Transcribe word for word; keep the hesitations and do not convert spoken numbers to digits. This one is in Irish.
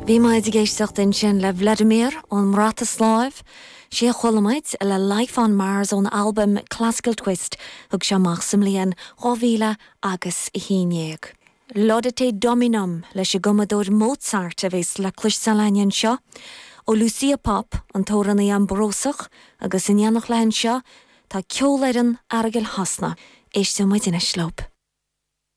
Bhí muid ag éisteacht ansin le Vladimir ón mBrataisláiv, sé chuala muid le Life on Mars ón albam Classical Twist thug sé amach sa mbliain dhá mhíle agus a haon déag. Laudate Dominum leis an gcumadóir Mozart a bheas le cloisteáil anseo, ó Lucia Pop an t-amhránaí Ambrósach agus in éineacht léi anseo tá ceolfhoireann Aireagal Shasana, Éisteann muid anois leo.